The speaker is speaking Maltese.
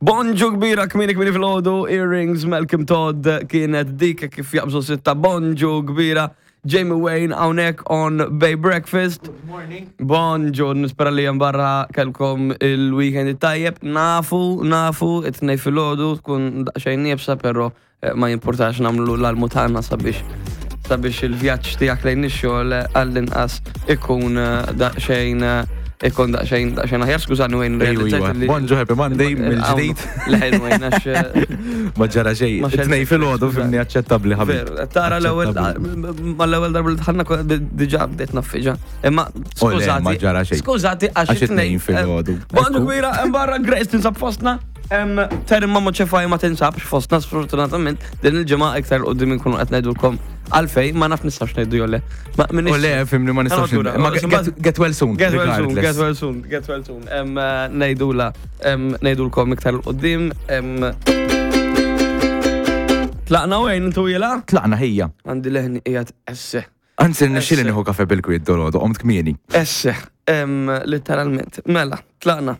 Bonġu kbira kmini kmini fil-ħodu, Earrings, Malcolm Todd kienet dik kif jaqbżu sitta bonġu kbira. Jamie Wayne hawnhekk on Bay Breakfast. Good morning. Bonġu, nispera li hemm barra kelkom il-weekend it-tajjeb. Nafu, nafu, it-tnej fil-ħodu tkun daqsxejn niebsa, però eh, ma jimpurtax namlu l-almu tagħna sabiex sabiex il-vjaġġ tiegħek lejn ix-xogħol eh, għall-inqas ikun eh, daqsxejn ikun daqsxejn daqsxejn aħjar. Skużani Wayne, realizzajt li. Bonġu Happy Monday mill-ġdid. Leħen Wayne għax Ma ġara xejn. Ma xejn. Tnej fil-ħodu fimni aċċettabbli ħabib. Ver, tara l-ewwel mal-ewwel darba li dħalna diġà bdejt naffiġa. Imma O le, skużati. ma ġara xejn. Skużati għax Għax it-tnejn filgħodu. Bonġu Ekku. kbira, hemm barra Grace tinsab fostna. Terim ma ċefaj ma tinsabx fostna sfortunatament din il-ġimgħa iktar 'l quddiem inkunu qed ngħidulkom għalfej ma naf nistax ngħidu jew le. Ma minix- O le, fimni ma nistax. Allura, Ma get- get well soon. Get well soon, regardless. get well soon, get well soon. Em, eh, Ngħidula, em, ngħidulkom iktar 'l quddiem. em, Tlaqna wejn intu jela? Tlaqna ħija. Għandi leħni qiegħed esse. Anzi, nixxili nieħu kafe bil-kwiet dolodu, qomt kmieni. Esse, em, letteralment. Mela, tlaqna.